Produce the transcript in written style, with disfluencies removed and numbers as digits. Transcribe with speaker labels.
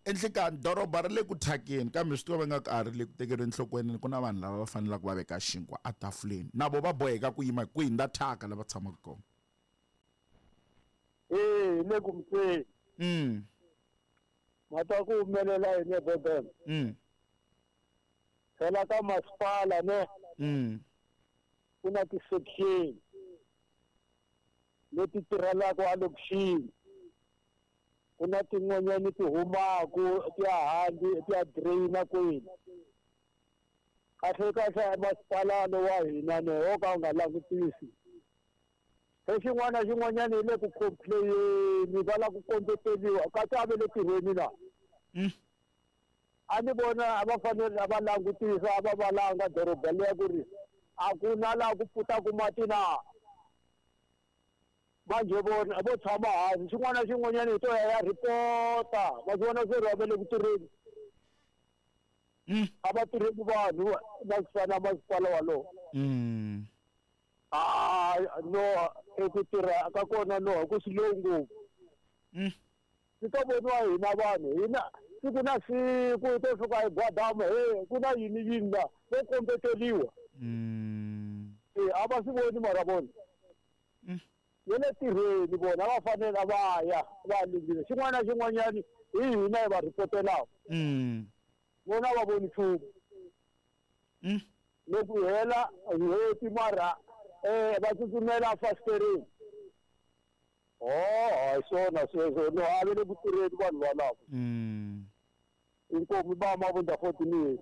Speaker 1: Enhlekani doroba ri le ku thyakeni kambe swi tiva va nga ka ri le ku tekeriweni enhlokweni ku na vanhu lava va fanelaka va veka xinkwa etafuleni na vo va boheka ku yima kwihi nda thyaka lava tshamaka kona.
Speaker 2: Ee, hi le ku mutweni. Ma twa ku humelela yini eDurban? Phela ka masipala ne ku na ti-section leti tirhelaka a lokixini. Ku na tin'wanyani ti humaku ti ya handle ti ya drain-a kwini. Kahle kahle masipala lowa hina ne wo ka wu nga langutisi. Se xin'wana na xin'wanyana hi le ku complain-eni va lava ku kombeteriwa kasi a va le tirhweni na. A ni vona a va fanele a va langutisa a va valanga doroba liya ku ri a ku na laha ku pfutaku mati na. Manjhe vona vo tshama hansi xin'wana na xin'wanyana hi to ya ya report-a ma swi vona se ri va le ku tirheni. A va tirheli vanhu na ku fana na masipala walowo. Ah, no eku tirha ka kona no ku slow ngopfu. Swi to voniwa hina vanhu hina siku na siku hi to fika hi gwadama he ku na yini yini la vo kombeteriwa. E a va swi voni mara vona. Ve le tirheni vona va fanele va ya va lunghisa xin'wana na xin'wanyana hi hina hi va ripotelaka. Vona a va voni nchumu. Loko hi hela n'hweti mara va tsutsumela efasitereni. Oh, hi swona sweswo no a va le ku tirheni vanhu valavo. Inkomu ba mavunda 14 years.